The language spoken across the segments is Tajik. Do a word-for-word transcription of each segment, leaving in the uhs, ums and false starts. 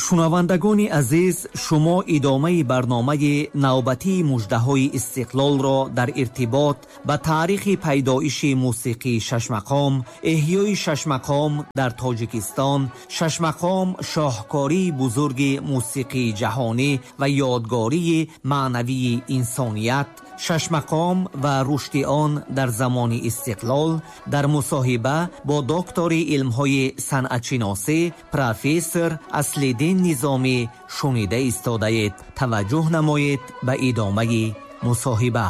Шунавандагони азиз, шумо идомаи барномаи навбатии муждаҳои истиқлолро дар иртибот ба таърихи пайдоиши мусиқии шашмақом, эҳёи шашмақом дар Тоҷикистон, шашмақом шоҳкории бузурги мусиқии ҷаҳонӣ ва ёдгории маънавии инсоният, шашмақом ва рушди он дар замони истиқлол дар мусоҳиба бо доктори илмҳои санъатшиносӣ профессор Аслиддин Низомӣ шунида истодаед. Таваҷҷӯҳ намоед ба идомаи мусоҳиба.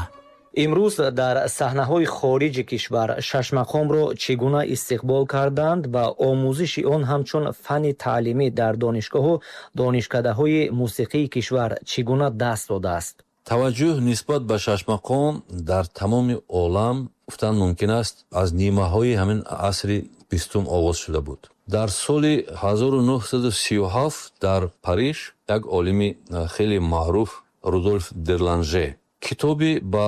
Имрӯз дар саҳнаҳои хориҷи кишвар шашмақомро чӣ гуна истиқбол карданд ва омӯзиши он ҳамчун фанни таълимӣ дар донишгоҳу донишкадаҳои мусиқии кишвар чӣ гуна даст додааст? Таваҷҷӯҳ нисбат ба шашмақом дар тамоми олам, гуфтан мумкин аст, аз нимаҳои ҳамин асри бистум оғоз шуда буд. Дар соли ҳазору нӯҳсаду сию ҳафт дар Париж як олими хеле маъруф, Рудольф Дерланже, китоби ба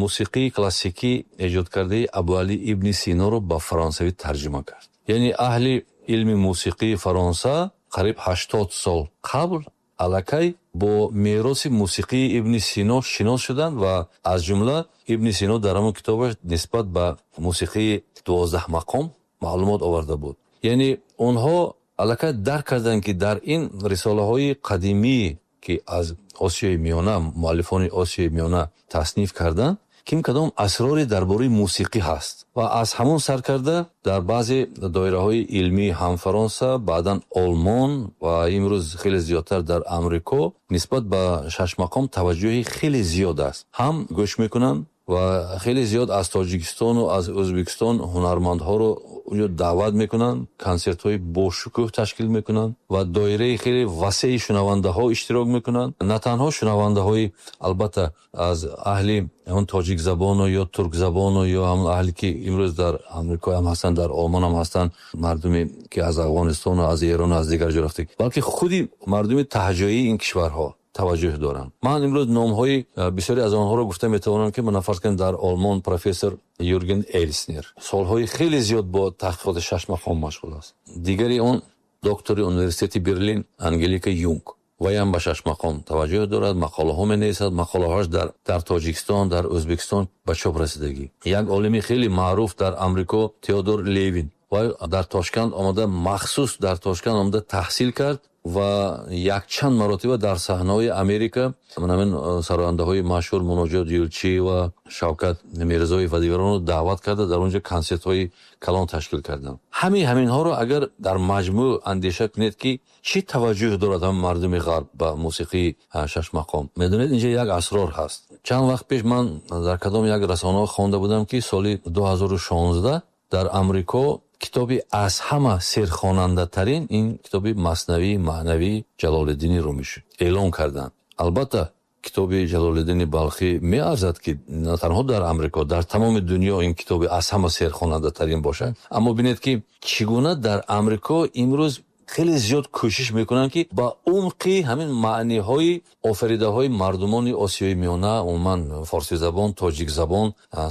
мусиқии классикӣ эҷод кардаи Абуалӣ ибни Синоро ба фаронсавӣ тарҷима кард. Яъне аҳли илми мусиқии Фаронса қариб ҳаштод сол қабл аллакай бо мероси мусиқии Ибни Сино шинос шуданд ва аз ҷумла Ибни Сино дар ҳамон китобаш нисбат ба мусиқии дувоздаҳ мақом маълумот оварда буд. Яъне онҳо аллакай дарк карданд, ки дар ин рисолаҳои қадимӣ, ки аз Осиёи Миёна муаллифони Осиёи Миёна тасниф карданд, ким кадом асроре дар бораи мусиқӣ ҳаст. Ва аз ҳамон сар карда дар баъзе доираҳои илмӣ ҳам Фаронса, баъдан Олмон ва имрӯз хеле зиёдтар дар Амрико нисбат ба шашмақом таваҷҷӯҳи хеле зиёд аст. Ҳам гӯш мекунанд ва хеле зиёд аз Тоҷикистону аз Ӯзбекистон ҳунармандҳоро онҷо даъват мекунанд, консертҳои бошукӯҳ ташкил мекунанд ва доираи хеле васеи шунавандаҳо иштирок мекунанд. На танҳо шунавандаҳои, албатта, аз аҳли ҳамон тоҷикзабону ё туркзабону ё ҳамон аҳле, ки имрӯз дар Амрико ҳам ҳастанд, дар Олмон ҳам ҳастанд, мардуме ки аз Афғонистону аз Эрону аз дигар ҷо рафта, балки худи мардуми таҳҷоии ин кишварҳо таваҷҷӯҳ доранд. Ман имрӯз номҳои бисёре аз онҳоро гуфта метавонам, ки мана, фарз кунем, дар Олмон профессор Юрген Элснер солҳои хеле зиёд бо таҳқиқоти шашмақом машғул аст. Дигари он доктори университети Берлин Ангелика Юнг, вайам ба шашмақом таваҷҷӯҳ дорад, мақолаҳо менависад, мақолаҳоаш дар дар Тоҷикистон, дар Ӯзбекистон ба чоп расидагӣ. Як олими хеле маъруф дар Амрико, Теодор Левин, вай дар Тошканд омада, махсус дар Тошканд омада таҳсил кард ва якчанд маротиба дар саҳнаҳои Америка ҳамин сарояндаҳои машҳур, Муноҷот Юлчиева, Шавкат Мирзоев ва дигаронро даъват карда, дар он ҷо консертҳои калон ташкил карданд. Ҳамин ҳаминҳоро агар дар маҷмӯъ андеша кунед, ки чӣ таваҷҷӯҳ дорад ҳам мардуми ғарб ба мусиқии шашмақом, медонед, инҷа як асрор ҳаст. Чанд вақт пеш ман дар кадом як расонаҳо хонда будам, ки соли ду ҳазору шонздаҳ дар Амрико китоби аз ҳама серхонандатарин ин китоби Маснавии маънавии Ҷалолиддини Румӣ шуд, эълон карданд. Албатта, китоби Ҷалолиддини Балхӣ меарзад, ки на танҳо дар Амрико, дар тамоми дунё ин китоби аз ҳама серхонандатарин бошад. Аммо бинед, ки чӣ гуна дар Амрико имрӯз хеле зиёд кӯшиш мекунанд, ки ба умқи ҳамин маъниҳои офаридаҳои мардумони Осиёи Миёна, умуман форсизабон, тоҷикзабон,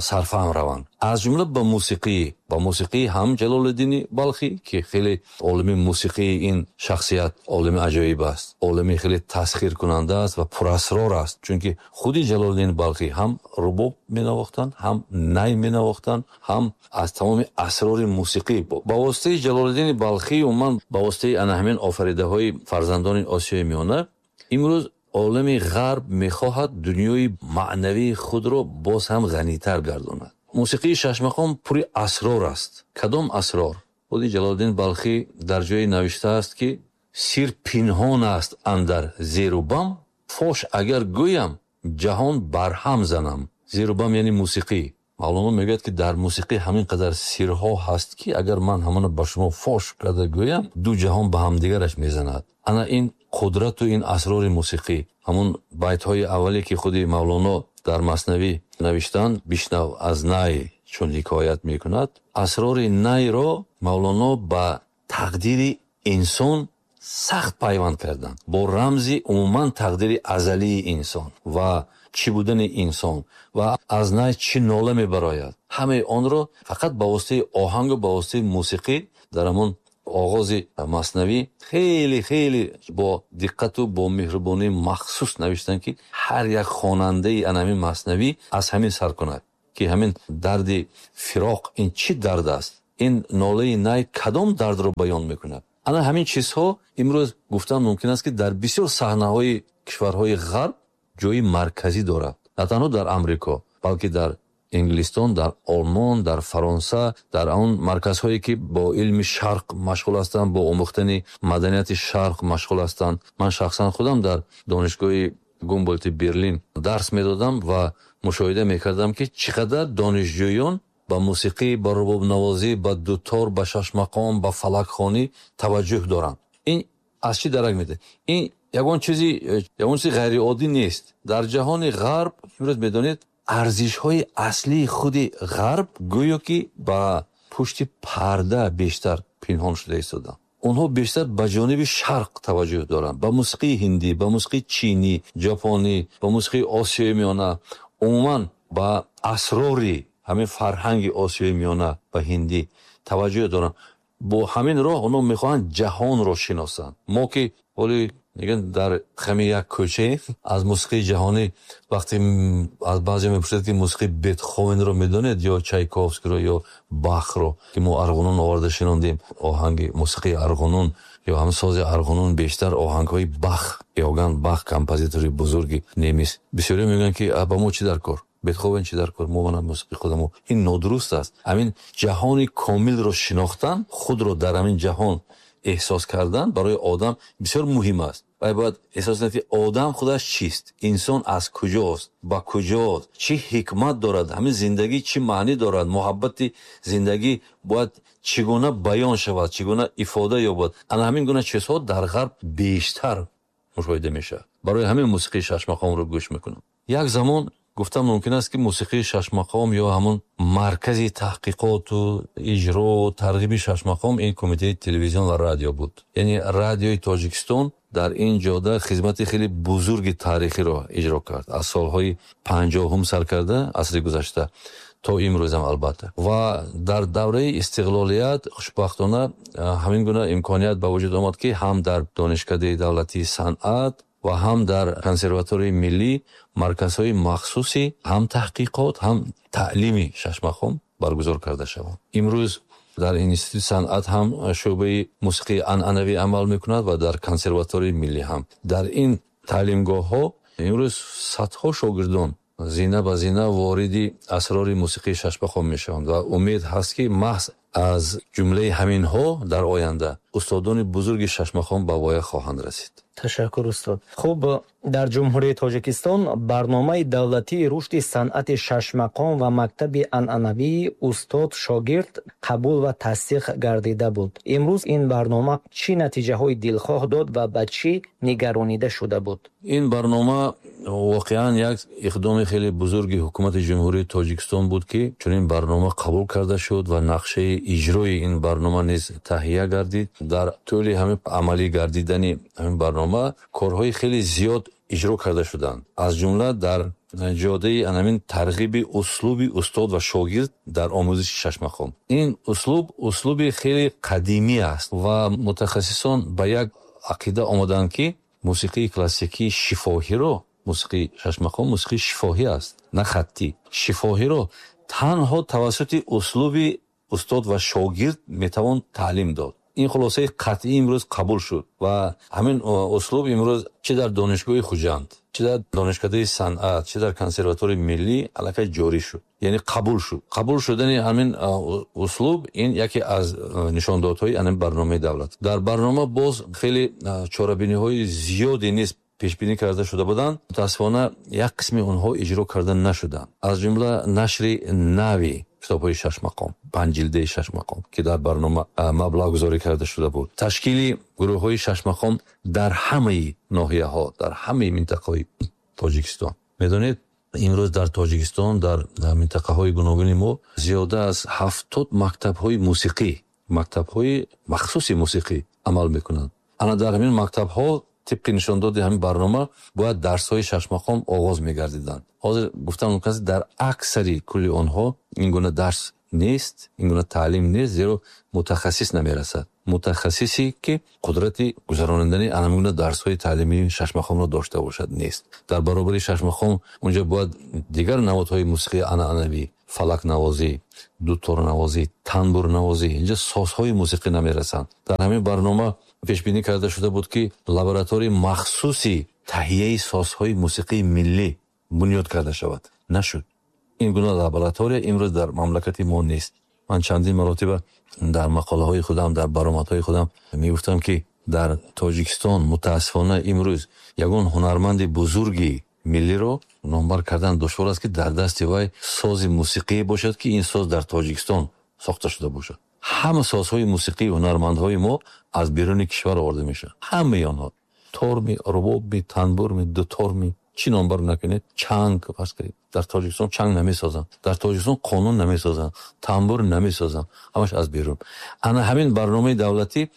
сарфаҳм раванд. Аз ҷумла ба мусиқӣ, ба мусиқии ҳам Ҷалолиддини Балхӣ, ки хеле олими мусиқии ин шахсият олими аҷоиб аст, олими хеле тасхиркунанда аст ва пурасрор аст, чунки худи Ҷалолиддини Балхӣ ҳам рубоб менавохтанд, ҳам най менавохтанд, ҳам аз тамоми асрори мусиқӣ. Ба воситаи Ҷалолиддини Балхӣ, умуман ба воситаи ана ҳамин офаридаҳои фарзандони Осиёи Миёна, имрӯз олами ғарб мехоҳад дунёи маънавии худро боз ҳам ғанитар гардонад. Мусиқии шашмақом пури асрор аст. Кадом асрор? Худи Ҷалолиддин Балхӣ дар ҷое навиштааст, ки сир пинҳон аст андар зеру бам, фош агар гӯям, ҷаҳон барҳам занам. Зеру бам яъне мусиқӣ. Мавлоно мегӯяд, ки дар мусиқӣ ҳамин қадар сирҳо ҳаст, ки агар ман ҳамона ба шумо фош карда гӯям, ду ҷаҳон ба ҳамдигараш мезанад. Ана ин қудрату ин асрори мусиқӣ. Ҳамун байтҳои аввале, ки худи Мавлоно дар Маснавӣ навиштанд: «Бишнав аз най, чун ҳикоят мекунад», асрори найро Мавлоно ба тақдири инсон сахт пайванд карданд, бо рамзи умуман тақдири азалии инсон ва чӣ будани инсон ва аз най чӣ нола мебарояд. Ҳамаи онро фақат ба воситаи оҳангу ба воситаи мусиқӣ дар ҳамон Оғози маснавӣ хеле хеле бо диққату бо меҳрубонии махсус навиштанд, ки ҳар як хонандаи ана ҳамин маснавӣ аз ҳамин сар кунад, ки ҳамин дарди фироқ ин чӣ дард аст, ин нолаи най кадом дардро баён мекунад. Ана ҳамин чизҳо имрӯз гуфтан мумкин аст, ки дар бисёр саҳнаҳои кишварҳои ғарб ҷои марказӣ дорад. На танҳо дар Амрико, балки дар Инглистон, дар Олмон, дар Фаронса, дар он марказҳое ки бо илми шарқ машғул ҳастанд, бо омӯхтани маданияти шарқ машғул ҳастанд. Ман шахсан худам дар донишгоҳи Гумболти Берлин дарс медодам ва мушоҳида мекардам, ки чӣ қадар донишҷӯён ба мусиқӣ, ба рубобнавозӣ, ба дутор, ба шашмақом, ба фалакхонӣ таваҷҷӯҳ доранд. Ин аз чӣ дарак медиҳад? Ин ягон чизи, ягон чизи ғайриоддӣ нест. Дар ҷаҳони ғарб имрӯз медонед, арзишҳои аслии худи ғарб гӯё ки ба пушти парда бештар пинҳон шуда истоданд. Онҳо бештар ба ҷониби шарқ таваҷҷӯҳ доранд, ба мусиқии ҳиндӣ, ба мусиқии чинӣ, ҷопонӣ, ба мусиқии Осиёи Миёна, умуман ба асрори ҳамин фарҳанги Осиёи Миёна ва ҳиндӣ таваҷҷӯҳ доранд. Бо ҳамин роҳ онҳо мехоҳанд ҷаҳонро шиносанд. Мо ки ҳоли мегӯянд дар хами як кӯча аз мусиқии ҷаҳонӣ, вақте аз баъзе мепурсед, ки мусиқии Бетховенро медонед ё Чайковскиро ё Бахро, ки мо арғунун оварда шинондем, оҳанги мусиқии арғунун ё ҳам сози арғунун бештар оҳангҳои Бах, Иоганн Бах, композитори бузурги немис. Бисёриҳо мегӯянд, ки ба мо чӣ дар кор, Бетховен чӣ дар кор, мо мана мусиқии худамо. Ин нодуруст аст. Ҳамин ҷаҳони комилро шинохтан, худро дар ҳамин ҷаҳон эҳсос кардан барои одам бисёр муҳим аст. Вай бояд эҳсос кунад, ки одам худаш чист, инсон аз куҷост, ба куҷост, чӣ ҳикмат дорад, ҳамин зиндагӣ чӣ маънӣ дорад, муҳаббати зиндагӣ бояд чӣ гуна баён шавад, чӣ гуна ифода ёбад. Ана ҳамин гуна чизҳо дар ғарб бештар мушоҳида мешавад. Барои ҳамин мусиқии шашмақомро гӯш мекунам. Як замон гуфтам мумкин аст, ки мусиқии шашмақом ё ҳамон маркази таҳқиқоту иҷро тарғиби шашмақом ин кумитаи телевизион ва радио буд. Яъне радиои Тоҷикистон дар ин ҷода хизмати хеле бузурги таърихиро иҷро кард. Аз солҳои панҷоҳум сар карда асри гузашта то имрӯзам албатта. Ва дар давраи истиқлолият хушбахтона ҳамин гуна имконият ба вуҷуд омад, ки ҳам дар Донишкадаи давлатии санъат ва ҳам дар консерваторияи миллӣ марказҳои махсуси ҳам таҳқиқот, ҳам таълими шашмақом баргузор карда шаванд. Имрӯз дар институти санъат ҳам шӯъбаи мусиқии анъанавӣ амал мекунад ва дар консерваторияи миллӣ ҳам. Дар ин таълимгоҳҳо имрӯз садҳо шогирдон зина ба зина вориди асрори мусиқии шашмақом мешаванд ва умед ҳаст, ки маҳз аз ҷумлаи ҳаминҳо дар оянда устодони бузурги шашмақом ба воя хоҳанд расид. Ташаккур, устод. Хуб, дар Ҷумҳурии Тоҷикистон барномаи давлатии рушди санъати шашмақом ва мактаби анъанавии устод-шогирд қабул ва тасдиқ гардида буд. Имрӯз ин барнома чӣ натиҷаҳои дилхоҳ дод ва ба чӣ нигаронида шуда буд? Ин барнома воқеан як иқдоми хеле бузурги ҳукумати Ҷумҳурии Тоҷикистон буд, ки чунин барнома қабул карда шуд ва нақшаи иҷрои ин барнома низ таҳия гардид. Дар тӯли ҳамин амалӣ гардидани ҳамин барнома корҳои хеле зиёд иҷро карда шуданд. Аз ҷумла дар ҷодаи ҳамин тарғиби услуби устод ва шогирд дар омӯзиши шашмақом. Ин услуб услуби хеле қадимӣ аст ва мутахассисон ба як ақида омаданд, ки мусиқии классикии шифоҳиро, мусиқии шашмақом мусиқии шифоҳӣ аст, на хаттӣ. Шифоҳиро танҳо тавассути услуби устод ва шогирд метавон таълим дод. Ин хулосаи қатъӣ имрӯз қабул шуд ва ҳамин услуб имрӯз чӣ дар Донишгоҳи Хуҷанд, чӣ дар Донишкадаи санъат, чӣ дар консерваторияи миллӣ аллакай ҷорӣ шуд, яъне қабул шуд. Қабул шудани ҳамин услуб ин яке аз нишондодҳои ҳамин барномаи давлат. Дар барнома боз хеле чорабиниҳои зиёде низ пешбинӣ карда шуда буданд. Мутаассифона як қисми онҳо иҷро карда нашуданд. Аз ҷумла нашри нави китобҳои шашмақом, панҷ ҷилдаи шашмақом, ки дар барнома маблағгузорӣ карда шуда буд. Ташкили гурӯҳҳои шашмақом дар ҳамаи ноҳияҳо, дар ҳамаи минтақаҳои Тоҷикистон. Медонед, имрӯз дар Тоҷикистон дар минтақаҳои гуногуни мо зиёда аз ҳафтод мактабҳои мусиқӣ, мактабҳои махсуси мусиқӣ амал мекунанд. Ана дар ҳамин мактабҳо тибқи нишондоди ҳамин барнома бояд дарсҳои шашмақом оғоз мегардиданд. Ҳозир гуфтам мумкин аст, дар аксари кулли онҳо ин гуна дарс Нест, ин гуна таълим нест, зеро мутахассис намерасад. Мутахассисе ки қудрати гузаронидани ана гуна дарсҳои таълимии шашмақомро дошта бошад, нест. Дар баробари шашмақом унҷа бояд дигар намудҳои мусиқии анъанавӣ, фалакнавозӣ, дуторнавозӣ, танбурнавозӣ, инҷа созҳои мусиқӣ намерасанд. Дар ҳамин барнома пешбинӣ карда шуда буд, ки лабораторияи махсуси таҳияи созҳои мусиқии миллӣ бунёд карда шавад. Нашуд. Ин гуна лаборатория имрӯз дар мамлакати мо нест. Ман чандин маротиба дар мақолаҳои худам, дар баромадҳои худам мегуфтам, ки дар Тоҷикистон мутаассифона имрӯз ягон ҳунарманди бузурги миллиро номбар кардан душвор аст, ки дар дасти вай сози мусиқие бошад, ки ин соз дар Тоҷикистон сохта шуда бошад. Ҳама созҳои мусиқии ҳунармандҳои мо аз беруни кишвар оварда мешаванд. Ҳамаи онҳо. Торми, рубобми, танбурми, дуторми, чӣ номбар накунед, чанг фарз кунед. Дар Тоҷикистон чанг намесозанд, дар Тоҷикистон қонун намесозанд, тамбур намесозанд, ҳамаш аз берун. Ана ҳамин барномаи давлатӣ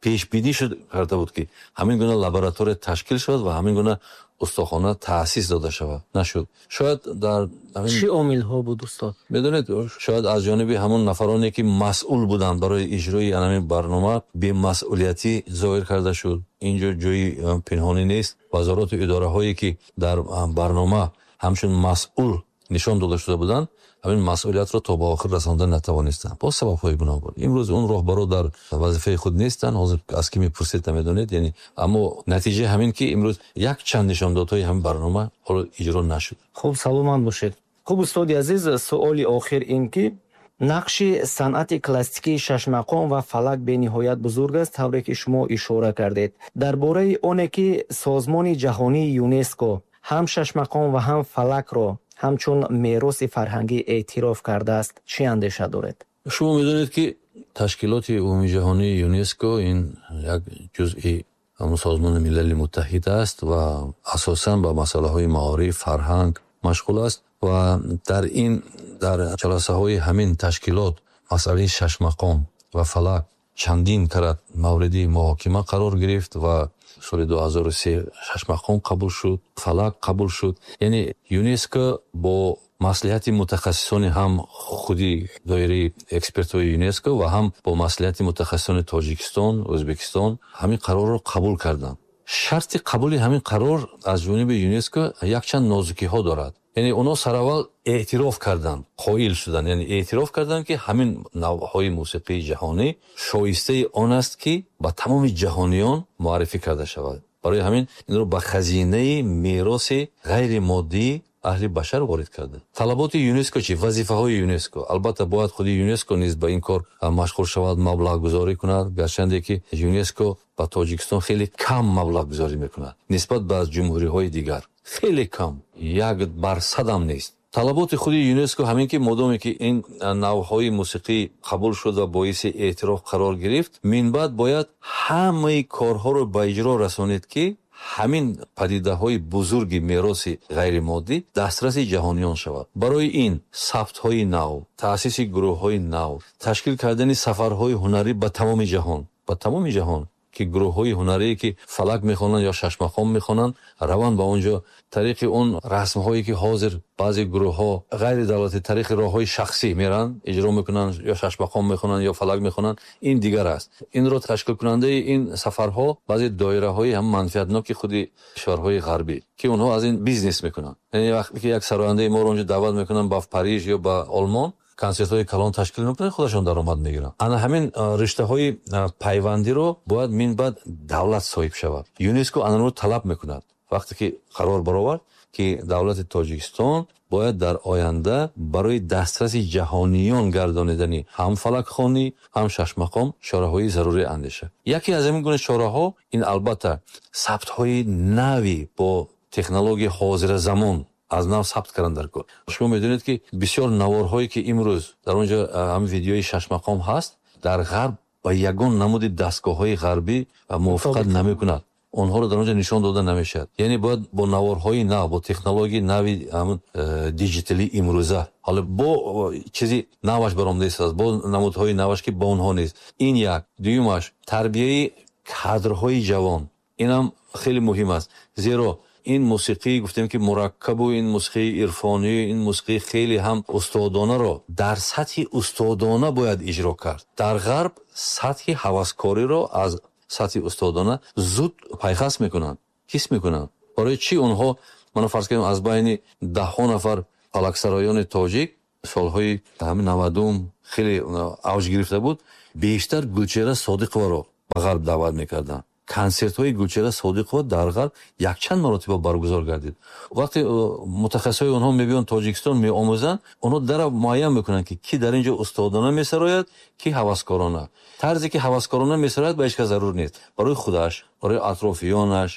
пешбинӣ шуд карда буд, ки ҳамин гуна лаборатория ташкил шавад ва ҳамин гуна устохона таъсис дода шавад. Нашуд. Шояд дар чӣ омилҳо буд, устод? Медонед, шояд аз ҷониби ҳамон нафароне, ки масъул буданд барои иҷрои ҳамин барнома, бемасъулиятӣ зоҳир карда шуд. Инҷо ҷои пинҳонӣ нест. Вазорату идораҳое, ки дар барнома ҳамчун масъул нишон дода шуда буданд, ҳамин масъулиятро то ба охир расонда натавонистанд бо сабабҳои гуногун. Имрӯз он роҳбаро дар вазифаи худ нестанд, ҳозир аз ки мепурсед намедонед. Яъне аммо натиҷа ҳамин, ки имрӯз як чанд нишондодҳои ҳамин барнома ҳоло иҷро нашуд. Хуб, саломат бошед. Хуб, устоди азиз, суоли охир ин ки нақши санъати классикии шашмақом ва фалак бениҳоят бузург аст, тавре ки шумо ишора кардед. Дар бораи оне ки созмони ҷаҳонии ЮНЕСКО ҳам шашмақом ва ҳам фалакро ҳамчун мероси фарҳангӣ эътироф кардааст, чӣ андеша доред? Шумо медонед, ки ташкилоти умумиҷаҳонии ЮНЕСКО ин як ҷузъи ҳамон Созмони Милали Муттаҳид аст ва асосан ба масъалаҳои маориф, фарҳанг машғул аст ва дар ин дар ҷаласаҳои ҳамин ташкилот масъалаи шашмақом ва фалак чандин карат мавриди муҳокима қарор гирифт ва соли ду ҳазору се шашмақом қабул шуд, фалак қабул шуд. Яъне ЮНЕСКО бо маслиҳати мутахассисони ҳам худи доираи экспертҳои ЮНЕСКО ва ҳам бо маслиҳати мутахассисони Тоҷикистон, Ӯзбекистон ҳамин қарорро қабул карданд. Шарти қабули ҳамин қарор аз ҷониби ЮНЕСКО якчанд нозукиҳо дорад. Яъне онҳо сараввал эътироф карданд, қоил шуданд, яъне эътироф карданд, ки ҳамин навъҳои мусиқии ҷаҳонӣ шоистаи он аст, ки ба тамоми ҷаҳониён муаррифӣ карда шавад. Барои ҳамин инро ба хазинаи мероси ғайримоддии аҳли башар ворид карда. Талаботи ЮНЕСКО чи? Вазифаҳои ЮНЕСКО? Албатта, бояд худи ЮНЕСКО низ ба ин кор машғул шавад, маблағгузорӣ кунад, гарчанде ки ЮНЕСКО ба Тоҷикистон хеле кам маблағгузорӣ мекунад нисбат ба ҷумҳуриҳои дигар, хеле кам, як бар садам нест. Талаботи худи ЮНЕСКО ҳамин ки модоме ки ин навъҳои мусиқӣ қабул шуд ва боиси эътироф қарор гирифт, минбаъд бояд ҳамаи корҳоро ба иҷро расонед, ки ҳамин падидаҳои бузурги мероси ғайримоддӣ дастраси ҷаҳониён шавад. Барои ин сабтҳои нав, таъсиси гурӯҳҳои нав, ташкил кардани сафарҳои ҳунарӣ ба тамоми ҷаҳон, ба тамоми ҷаҳон, ки гурӯҳҳои ҳунарие, ки фалак мехонанд ё шашмақом мехонанд, раванд ба он ҷо, тариқи он расмҳое, ки ҳозир баъзе гурӯҳҳо ғайридавлатӣ тариқи роҳҳои шахсӣ меранд, иҷро мекунанд, ё шашмақом мехонанд, ё фалак мехонанд, ин дигар аст. Инро ташкилкунандаи ин сафарҳо баъзе доираҳои ҳам манфиатноки худи кишварҳои ғарбӣ, ки онҳо аз ин бизнес мекунанд. Яъне вақте ки як сарояндаи моро онҷо даъват мекунанд ба Париж ё ба Олмон, консертҳои калон ташкил мекунанд, худашон даромад мегиранд. Ана ҳамин риштаҳои пайвандиро бояд минбаъд давлат соҳиб шавад. ЮНЕСКО анаро талаб мекунад. Вақте ки қарор баровард, ки давлати Тоҷикистон бояд дар оянда барои дастраси ҷаҳониён гардонидани ҳам фалакхонӣ, ҳам шашмақом чораҳои зарурӣ андешад. Яке аз ҳамин гуна чораҳо ин албатта сабтҳои нави бо технологияи ҳозиразамон аз нав сабт кардан дар кор. Шумо медонед, ки бисёр наворҳое, ки имрӯз дар он ҷо ҳамин видеои шашмақом ҳаст, дар ғарб ба ягон намуди дастгоҳҳои ғарбӣ мувофиқат намекунад, онҳоро дар он ҷо нишон дода намешавад. Яъне бояд бо наворҳои нав, бо технологияи нави ҳамун диҷиталии имрӯза, ҳоло бо чизи наваш баромада истодааст, бо намудҳои наваш, ки бо онҳо нест. Ин як. Дуюмаш, тарбияи кадрҳои ҷавон, инам хеле муҳим аст, зеро Ин мусиқӣ гуфтем ки мураккабу ин мусиқии ирфонӣ, ин мусиқии хеле ҳам устодонаро дар сатҳи устодона бояд иҷро кард. Дар ғарб сатҳи ҳаваскориро аз сатҳи устодона зуд пайхас мекунанд, ҳис мекунанд. Барои чӣ онҳо, мана фарз кунем, аз байни даҳҳо нафар фалаксароёни тоҷик солҳои ҳамин навадум хеле авҷ гирифта буд, бештар Гулчеҳра Содиқоваро ба ғарб даъват мекарданд. Консертҳои Гулчеҳра Содиқова дар ғарб якчанд маротиба баргузор гардид. Вақте мутахассисҳои онҳо мебиёнд Тоҷикистон меомӯзанд, онҳо дара муайян мекунанд, ки ки дар ин ҷо устодона месарояд, ки ҳаваскорона. Тарзе ки ҳаваскорона месарояд, ба ҳеҷ кас зарур нест. Барои худаш, барои атрофиёнаш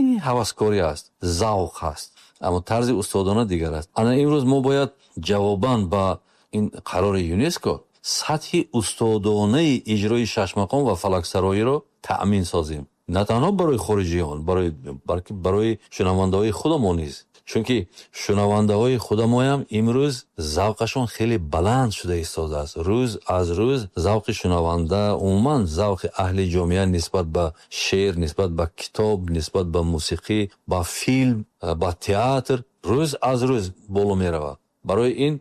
ин ҳаваскорӣ аст, завқ аст. Аммо тарзи устодона дигар аст. Ана имрӯз мо бояд ҷавобан ба ин қарори ЮНЕСКО сатҳи устодонаи иҷрои шашмақом ва фалаксароиро таъмин созем. На танҳо барои хориҷиён, барои, балки барои шунавандаҳои худамон низ. Чунки шунавандаҳои худамоям имрӯз завқашон хеле баланд шуда истодааст. Рӯз аз рӯз завқи шунаванда, умуман завқи аҳли ҷомеа нисбат ба шеър, нисбат ба китоб, нисбат ба мусиқӣ, ба филм, ба театр рӯз аз рӯз боло меравад. Барои ин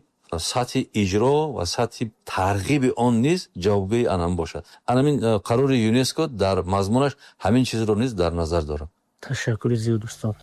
сатҳи иҷро ва сатҳи тарғиби он низ ҷавобгӯи анам бошад. Анамин қарори ЮНЕСКО дар мазмунаш ҳамин чизро низ дар назар дорад. Ташаккури зиёд, устод.